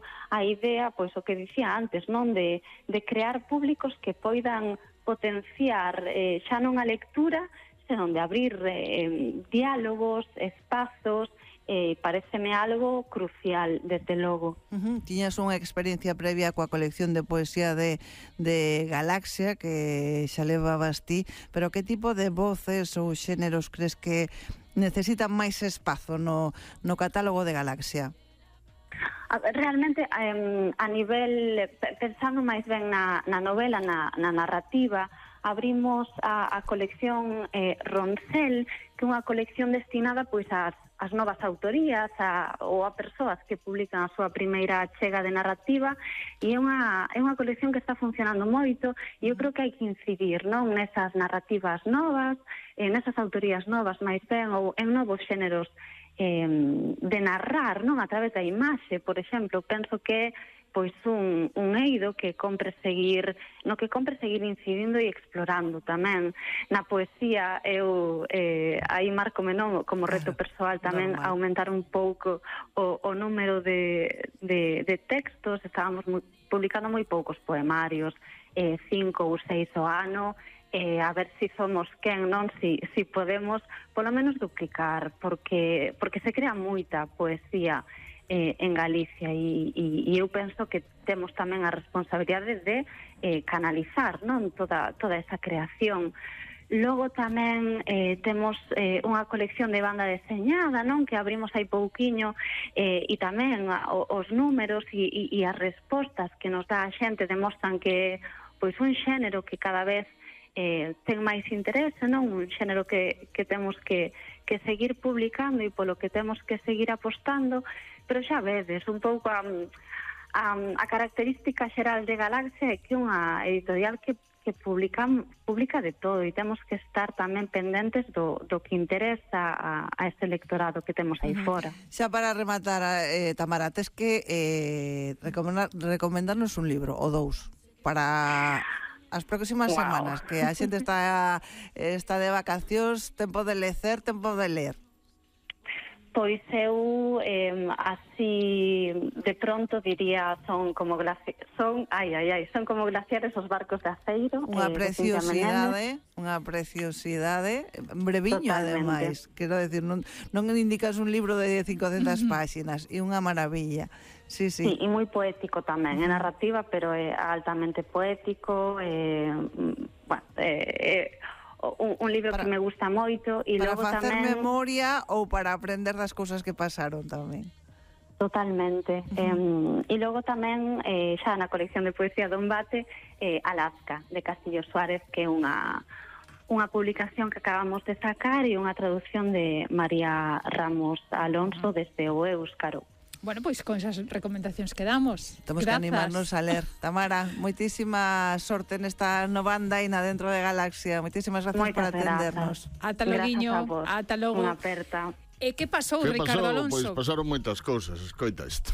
pouco a idea, pois o que dicía antes, non, de crear públicos que poidan potenciar xa non a lectura, senón de abrir diálogos, espazos. Pareceme algo crucial, desde logo. Tiñas unha experiencia previa coa colección de poesía de Galaxia, que xa levabas ti, pero que tipo de voces ou xéneros crees que necesitan máis espazo no catálogo de Galaxia? Realmente, a nivel, pensando máis ben na novela, na narrativa, abrimos a colección Roncel, que é unha colección destinada pois ás novas autorías ou a persoas que publican a súa primeira chega de narrativa, e é unha colección que está funcionando moito, e eu creo que hai que incidir, non, nesas narrativas novas, nesas autorías novas máis ben, ou en novos xéneros de narrar, non, a través da imaxe. Por exemplo, penso que pois un eido que compre seguir incidindo e explorando tamén. Na poesía eu aí márcome, non, como reto persoal tamén aumentar un pouco o número de textos. Estábamos publicando moi poucos poemarios, 5 ou 6 ao ano, a ver se somos quen, non, si podemos polo menos duplicar, porque se crea moita poesía en Galicia, e eu penso que temos tamén a responsabilidade de canalizar, non, toda esa creación. Logo tamén temos unha colección de banda deseñada, non, que abrimos hai pouquiño, e tamén os números e as respostas que nos dá a xente demostran que pois un xénero que cada vez ten máis interese, non, un xénero que temos que seguir publicando e polo que temos que seguir apostando. Pero xa vedes, un pouco a característica xeral de Galaxia é que é unha editorial que publica de todo, e temos que estar tamén pendentes do que interesa a este lectorado que temos aí fora. Xa para rematar, Tamara, tes que recomendarnos un libro ou dous para as próximas semanas, que a xente está de vacacións, tempo de lecer, tempo de ler. Pois eu así de pronto diría son como glaciares os barcos de aceiro. Unha preciosidade, breviño ademais, quero decir, non indicas un libro de 500 páxinas, e unha maravilla. Sí. Sí, e moi poético tamén, é narrativa, pero é altamente poético, un libro que me gusta moito, e para logo facer tamén memoria ou para aprender das cousas que pasaron tamén. Totalmente. E logo tamén xa na colección de poesía do Embate, Alaska, de Castillo Suárez, que é unha publicación que acabamos de sacar, e unha traducción de María Ramos Alonso desde o éuscaro. Bueno, pois con esas recomendacións que damos. Temos que animarnos a ler. Tamara, moitísima sorte nesta nova andaina dentro de Galaxia. Moitísimas gracias por atendernos. Ata loguiño, ata logo. Unha aperta. E que pasou, Ricardo Alonso? Pois pasaron moitas cousas, escoita isto.